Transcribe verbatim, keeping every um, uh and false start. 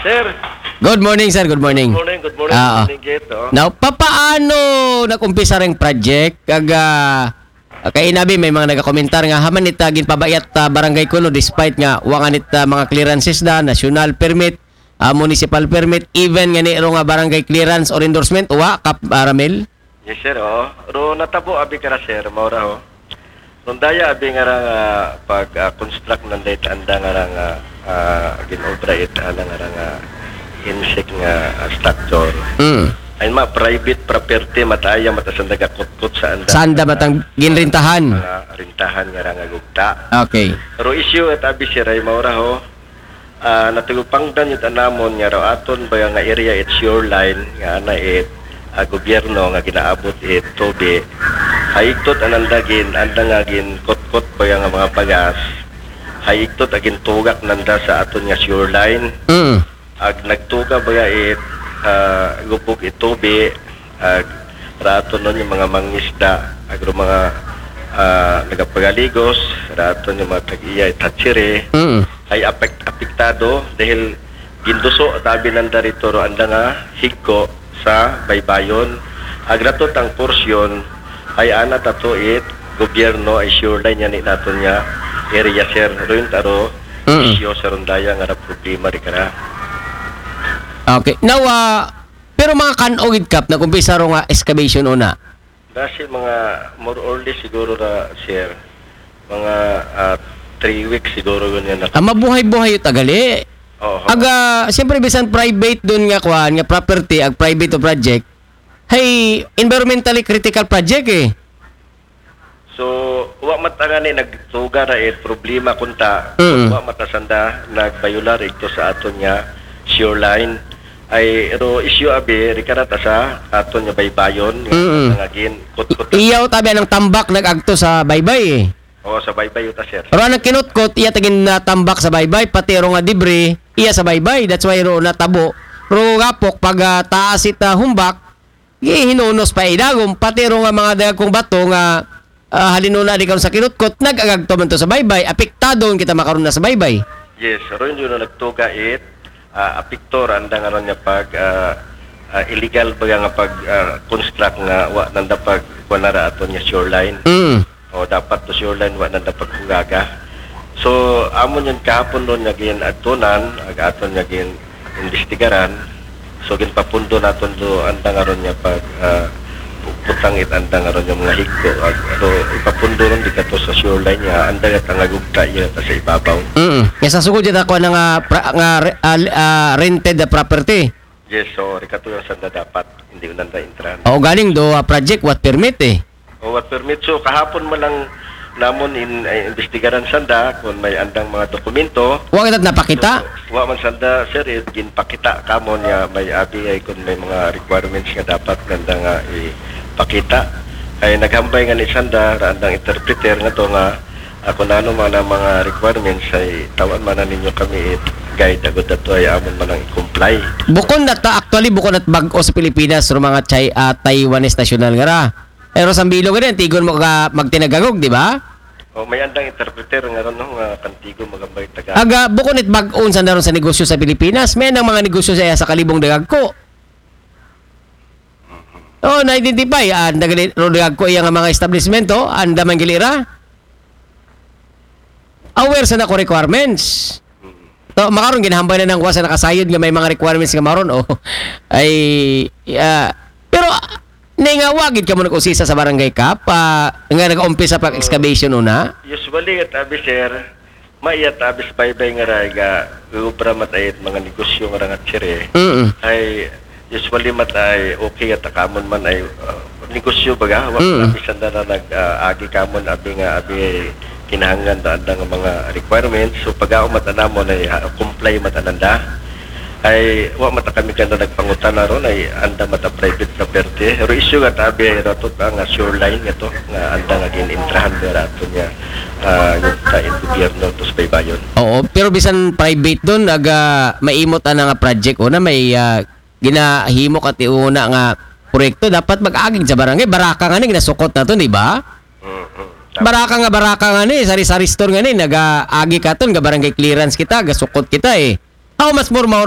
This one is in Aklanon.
Sir, Good morning, sir. Good morning. Good morning, good morning, Ah, ah. Good morning, Gate. Oh. Now, papaano nag-umpisa ring project? Kag, ah, kay inabi, may mga nagakomentar nga, haman ita ginpabayat, ah, barangay kuno, despite nga wa nga nit, ah, mga clearances da, national permit, ah, municipal permit, even nga ni ro nga barangay clearance or endorsement, wa, Kap, ah, Ramil? Yes, sir. Oh. Ro natabo abi kara, sir, maura ho. Rondaya abi nga ra nga pag ah, construct nanda it anda nga ra nga ah, ginobra it ana nga ra nga insik nga ah, structure. Mm. Ay ma private property mataya matasan nagakutkot sa anda. Sanda matang ginrintahan. Mga rintahan nga ra nga gugta. Okay. Pero issue at abi siray maura ho. Ah, natugupangdan yun anamon nga raw aton ba nga area it shoreline nga ana it ah, gobyerno nga ginaabot it tubi. Haigtot ananda gin anda nga gin kutkot ba nga mga bagas. Haigtot agin tugak nanda sa aton nga shoreline. Mm. Ag nagtuga ba it ah, gubog it tubi ag raton nun yung mga mangisda ag ro mga ah, nagapagaligos raton yung mga tag-iya it hatchery Mm. ay apek- apektado dahil ginduso tabi nanda rito ro anda nga higko sa baybayon. Agratot ang porsyon ay ana tato it gobyerno ay shoreline yan naton nga area, sir. Ruin taro Mm. isyo sa rondaya nga ra problema ri kara. Okay. Now, ah, pero mga kan-o gid, Kap, nag-umpisa ro nga excavation una. Dasi mga more or less siguro ra, sir. Mga ah, three weeks siguro yun yan. Ah, mabuhay-buhay yung tagali. Oo. Aga, siyempre, bisan private dun nga kuan, nga property, ag private o project, hay environmentally critical project eh. So, wa matangani nagtuga ra it problema kunta. Mm. Wa matasanda nagbayular ito sa aton nga shoreline. Ay, ro issue abi, rikarata sa aton nga baybayon, Mm. nga gin kutkot. Iyaw tabi anang tambak nag-agto sa baybay eh. O, sa baybay uta, sir. Pero anang kinutkot, iya tagin na tambak sa baybay, pati ro nga debris, iya sa baybay. That's why ro natabo. Ro gapok, pag ah, taas ita humbak, gihinunos pa idagom. Pati ro nga mga dagkong bato nga ah, halinuna di karon sa kinutkot, nag-agagto man to sa baybay. Apektado kita makaron na sa baybay. Yes, ro yun yung nagtuga it. Ah, apekto ra anda nga ron nga pag ah, ah, illegal ba nga pag ah, construct nga wa nanda pag kuan ra aton nga shoreline. Mm. O dapat to shoreline wa nanda paghugaga. So amon yun kahapon ron nga gin adtunan, ag aton nga gin imbestigaran. So ginpapundo naton do anda nga ron nga pag ah, putang it anda nga ron nga mga higko. Ag, so ipapundo ron di kato sa shoreline nga anda nga tangagugta iya ta sa ibabaw. Mm. Nga sa sugod yata ko na nga, pra, nga re- ah, ah, rented na property. Yes, so rikato yung sanda dapat hindi unanda intran. O galing do ah, project what permit eh. O what permit. So kahapon man lang namon in eh, imbestigaran sanda kung may andang mga dokumento. Wa kita napakita. Wa man sanda, sir, eh, ginpakita kamon nga may abi ay kung may mga requirements nga dapat ganda nga ipakita. Ay naghambay nga ni sanda ra andang interpreter nga to nga ako na ano man ang mga requirements ay tawan man na ninyo kami it guide agud ato ay amon man ang i-comply. Bukon na ta actually, bukon at bag-o sa Pilipinas ro mga Chai, ah, Taiwanese national nga ra. Pero sa bilog rin, tigon mo ka magtinagagog, di ba? O may andang interpreter nga ron no, nga kantigo magambay taga. Aga, bukon it bag-on sa naron sa negosyo sa Pilipinas, may nang mga negosyo sa, sa kalibong dagagko. Oh, na-identify, ah, nagali ro dagagko iya nga mga establishment, oh, anda man gilira. Aware sa nako requirements. To, makaron ginahambay na ng wasa nakasayod nga may mga requirements nga maron, oh. Ay, ah, pero ah, ni nga wa gid kamo nag-usisa sa barangay Kap, ah, nga nag-umpisa pag excavation una. Usually at abi, sir, maiya ta abi sa baybay nga ra ga ubra mat ay mga negosyo nga ra nga tsire. Mm. Ay usually mat ay okay at akamon man ay uh, negosyo baga wa Mm. abi sanda na nag uh, agi kamon abi nga abi kinahanglan da anda nga mga requirements. So pag-aumat anamon ay uh, comply mat ananda. Ay wa mata kami kanda nagpangutana ron ay anda mata private property. Pero issue nga tabi ay ratot ang uh, shoreline nga to nga anda nga gin-intrahan nga rato niya uh, yung ta in gobyerno to sa baybayon. Oo, pero bisan private dun, aga maimot ana nga project una, may ah, ginahimo ka ti una nga proyekto, dapat mag-agig sa barangay. Baraka nga ni ginasukot naton, di ba? Mhm. Baraka nga, baraka nga ni, sari-sari store nga ni, nag-aagi katon, ga barangay clearance kita, gasukot kita eh. How much more maura